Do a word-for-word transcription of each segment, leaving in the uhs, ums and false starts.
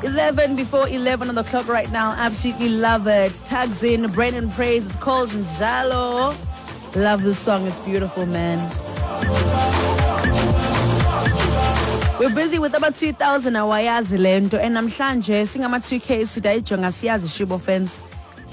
eleven before eleven on the clock right now. Absolutely love it. Tags in Brendan Praise. It's called Njalo. Love this song. It's beautiful, man. We're busy with about two thousand awayazi lento, and namhlanje singama two K sidayijonga siyazi shibo fence.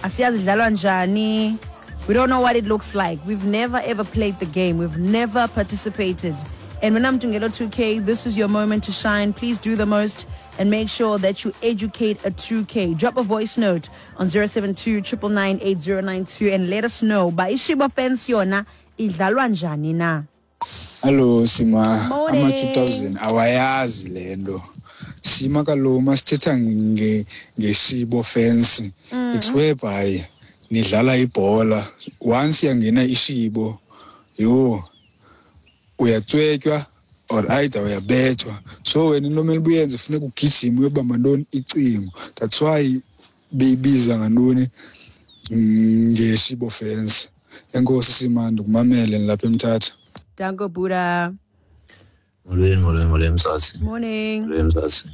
Asiyazi idlalwa njani. We don't know what it looks like. We've never ever played the game. We've never participated. And when I'm doing two K, this is your moment to shine. Please do the most and make sure that you educate a two K. Drop a voice note on zero seven two, triple nine, eight zero nine two and let us know. Ba ishibo fence yona idlalwa njani na? Hello Sima, Morning. Ama two thousand awayazi lento. Sima kaloku masithetha nge ngeshibo fence. Mm. It's whereby nidlala ibhola, once yangena ishibo, yo uyatswetywa or either uyabethwa. So wena into omele uyenze funeka ugijime uyobamba ntoni icingo. That's why beyibiza ngantoni ngeshibo fence. Enkosi Sima, ndikumamele nilapha eMthatha. Danko Buddha. Molweni, molweni, molweni Mzantsi. Morning. Molweni Mzantsi.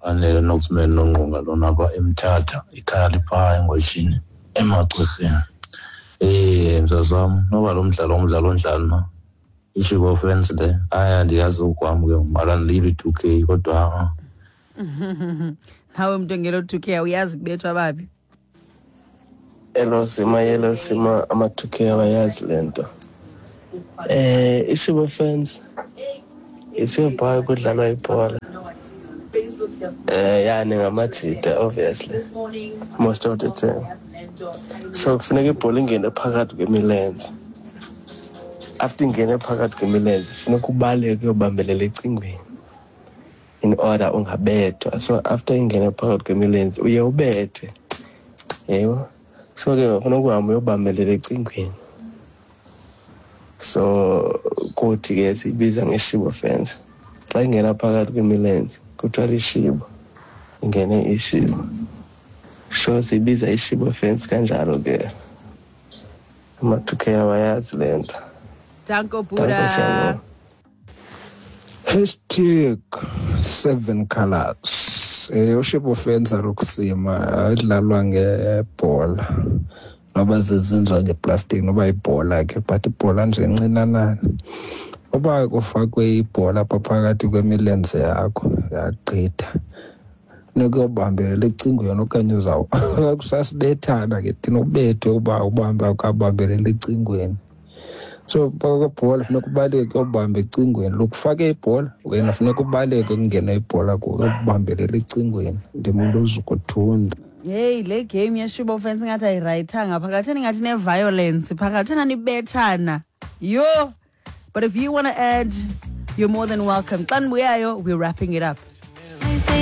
Anele nokusimela nongqonga lona apha eMthatha, ikhaya liphaa eNgweshini, eMaxhirheni. Eh, mzazi wam, noba lo mdlalo ngumdlalo onjani na? Ishibo fence le, hayi andiyazi okwam ke mara ndilive i-two K kodwa ha-a. Nawe mntu ongelo two K awuyazi kubethwa baphi? Hello Sima, hello Sima, ama two K awayazi le nto. Eh, ishibo fence ishibo kudlalwa ibhola. Eh, yani ngamajita obviously most of the time. So kufuneka ibhola ingene phakathi kwemilenze. After ingene phakathi kwemilenze funeka ubaleke uyobambelela ecingweni in order ungabethwa. So after ingene phakathi kwemilenze uye ubethwe. Yebo. So ke kufuneka uhambe uyobambelela ecingweni. So kuthi ke sibiza ngeshibo fence. Xa ingena phakathi kwemilenze kuthiwa lishibo, ingene ishibo. So sibiza ishibo fence kanjalo ke. Ama two K awayazi le nto. Danko Danko, Buddha. siyabonga. Hashtag seven colors. Eh, ushibo fence alukusima idlalwa ngebhola. Noba zezinzwa ngeplastic noba ibhola ke, but ibhola nje encinanana. Uba kufakwe ibhola apha phakathi kwemilenze yakho yagqitha. Nokuyobambelela ecingweni okanye uzawu kusasibethana ke thina ubethwe uba ubambe akabambelela ecingweni. So faka ibhola funeka ubaleke uyobamba ecingweni. Lokufake ibhola wena funeka ubaleke kungena ibhola kuwe uyobambelela ecingweni. Ndimuntu ozukuthunza. Hey, le game yeshibo fence ngathi ayirayithanga phakathi, ngathi ne-violence phakathi, nibethana. Yo! But if you wanna add, you're more than welcome. Xa nibuyayo, we're wrapping it up.